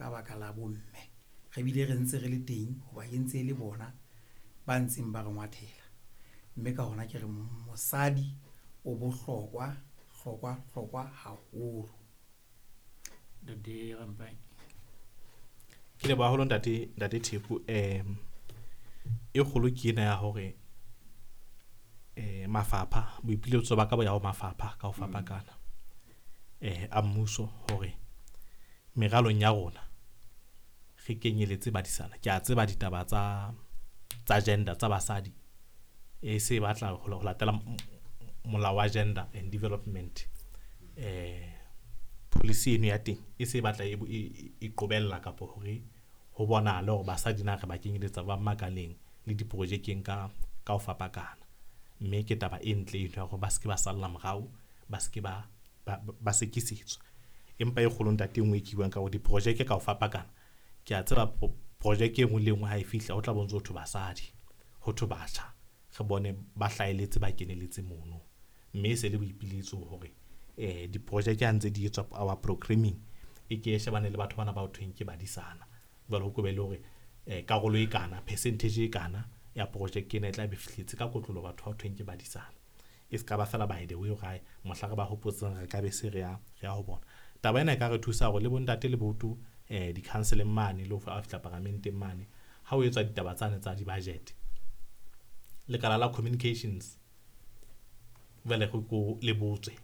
ka baka la bomme. Re bile re ntse re le teng hoba e ntse e le bona ba ntseng ba re ngwathela. Mme ka hona ke re mosadi o bohlokwa, hlokwa, hlokwa haholo. Ntate Rampai. Ke leboha haholo ntate, ntate Theku. E kgolo ke ena ya hore mafapha, boipiletso ba ka bo ya ho mafapha ka ho fapakana a mmuso hore meralong ya rona re kenyeletse badisana. Ke a tseba ditaba tsa gender tsa basadi e se batla ho latela molao wa gender and development, policy eno ya teng e se batla e qobella kapa hore ho bonahale hore basadi na re ba kenyeletsa ba makaleng le diprojekeng ka ho fapakana. Mme ke taba e ntle eno ya hore ba se ke ba salla morao, ba se ke ba sekisetswa. Empa e kgolo ntate e nngwe e ke buang ka hore diprojeke ka ho fapakana, ke a tseba projeke e nngwe le e nngwe ha e fihla ho tla bo ntso ho thwe basadi, ho thwe batjha, re bone ba hlaheletse, ba keneletse mono. Mme e se le boipiletso hore diprojeke ha ntse di etswa our programming e ke e shebane le batho bana ba ho thweng ke badisana. Jwale ho be le hore karolo e kana, percentage e kana ya projeke ena e tla be fihletse ka kotlolo batho ba ho thweng ke badisana. E se ka ba fela by the way hore ae mohla re ba hopotseng re ka be se re ya ho bona. Taba ena e ka re thusa hore le bontate le boto di-council-eng mane le ho fihla paramenteng mane ha ho etswa ditaba tsane tsa di-budget. Lekala la communications jwale re ko le botswe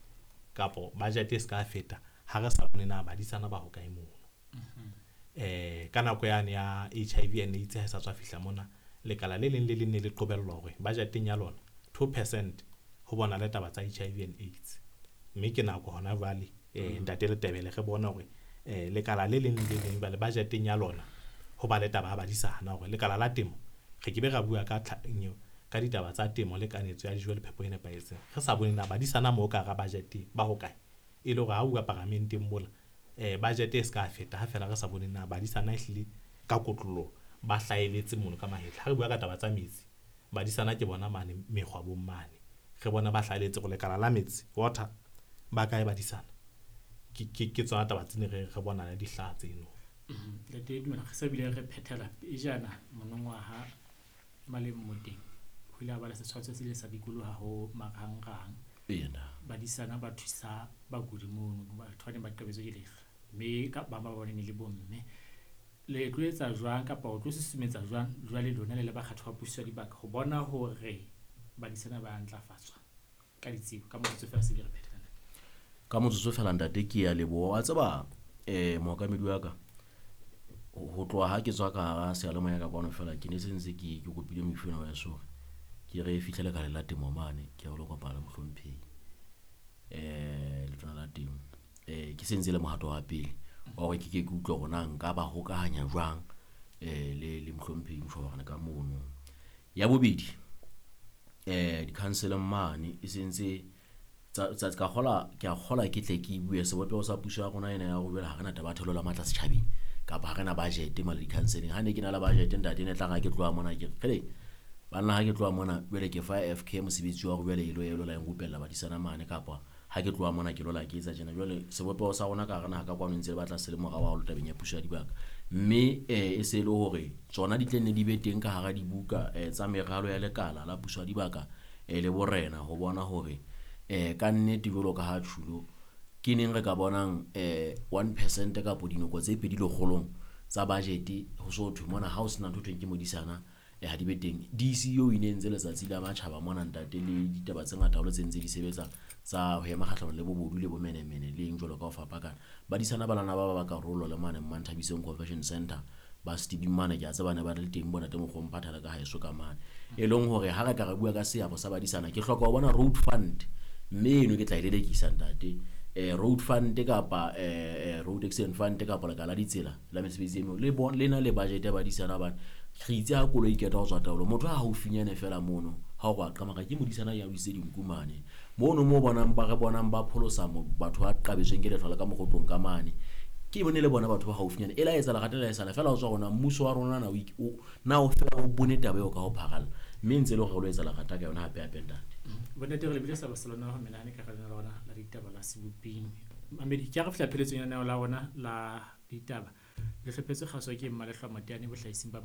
kapo budget e se ka feta ha re sa bone na badisana ba hokae mono. Ka nako yane ya HIV and AIDS ha e sa tswa fihla mona, lekala le leng le leng ne le qobellwa hore budgeteng ya lona 2% ho bona le taba tsa HIV and AIDS. Mme ke nako hona jwale ntate Letebele re bone hore lekala le leng le leng jwale budgeteng ya lona ho ba le taba ya badisana hore lekala la temo re ke be ra bua ka ka ditaba tsa temo le kanetso ya dijo le phepo e nepahetseng. Re sa bone na badisana moo ka hara budget ba hokae, e le hore ha bua paramenteng mola budget e se ka feta ha fela re sa bone na badisana ehlile ka kotloloho ba hlaheletse mono ka mahetla. Ha re bua ka taba tsa metsi, badisana ke bona mane mekgwabong mane, re bona ba hlaheletse hore lekala la metsi water ba kae badisana. Ke tsona taba tsene re bona le dihlaha tseno. Ntate Dumela, re se bile re phethela pejana monongwaha maleng moteng ho ile ha ba le setshwantsho se ile sa dikoloha ho marangrang. Badisana ba thusa bakudi mono, batho ba neng ba qabetswe ke lehlwa, mme ka ba ba bone ne le bomme. Le tlo etsa jwang kapa o tlo susumetsa jwang jwale lona le le bakgatho ba puso ya dibaka ho bona hore badisana ba ntlafatswa ka ditsebo? Ka motsotso fela se re phethela. Ka motsotso fela ntate ke ya leboha. Wa tseba mookamedi wa ka, ho tloha ha ke tswa ka hara seyalemoya ka kwano fela ke ne se ntse ke kopile moifo ena wa heso hore ke re fihlele ka la temo mane, ke re lo kopana le mohlomphehi letona la temo. Ke se ntse le mohato wa pele wa hore ke ke utlwe hore na nka ba hokahanya jwang le mohlomphehi Mshobane ka mono. Ya bobedi, di-council mane e sentse tsa ka kgola, ke a kgola ke tle ke bue sebopeho sa puso ya rona ena ya hore jwale ha re na taba ya theolo la matla setjhabeng kapa ha re na budget mane di-council-eng. Ha ne ke na le budget ntate ne tla re ha ke tloha mona ke re kgele banna, ha ke tloha mona jwale ke fa FK mosebetsi wa hore jwale e lo la nrupella badisana mane, kapa ha ke tloha mona ke lo la ke etsa tjena. Jwale sebopeho sa rona ka hara naha ka kwano ntse le batla se le morao haholo tabeng ya puso ya dibaka, mme e se le hore tsona di tle nne di be teng ka hara dibuka tsa meralo ya lekala la puso ya dibaka le borena, ho bona hore ka nnete jwalo ka ha tjhulo ke neng re ka bonang 1% kapo dinoko tse pedi lekgolong tsa budget ho so thwe mona ha o sena ntho thweng ke modisana ha di be teng. DCO e ne ntse letsatsi la matjhaba mona ntate, le ditaba tse ngata haholo tse ntse di sebetsa tsa ho ema kgahlanong le bobodu le bomenemene le eng jwalo ka ho fapakana. Badisana ba lana ba ba karolo le mane Mmanthabiseng Convention Center ba Stevie mane, ke a tseba ne ba le teng bona teng mokgomphatha le ka haeso ka mane, e leng hore ha re ka re bua ka seabo sa badisana ke hloka ho bona road fund, mme eno ke tla e lelekisa ntate. Road fund kapa road accident fund kapa lekala la ditsela la mesebetsi e meng le na le budget ya badisana, hobane re itse ha koloi e keta ho tswa taolo motho ha haufinyane fela mono ha o re a qamaka ke modisana ya wisitse dinku mane mono mo bonang ba re bonang ba pholosa batho ba qabetsweng ke lehlwa le ka mokgotlong ka mane, ke bone le bona batho ba haufinyane e la etsa lerata la esala fela ho tswa rona mmuso wa rona na na o fela o bone taba eo ka ho pharalla, mme ntse le hore re lo etsa lerata ka yona hape hape ntate. Bontate re lebile sa Barcelona ho menahane ka hara lona la ditaba la Seboping. Mamedi, ke a re fihla pheletsong ya lenaneo la rona la ditaba. Le hlophetswe kgaso ke Mmalehlwa Mateane bohlahising ba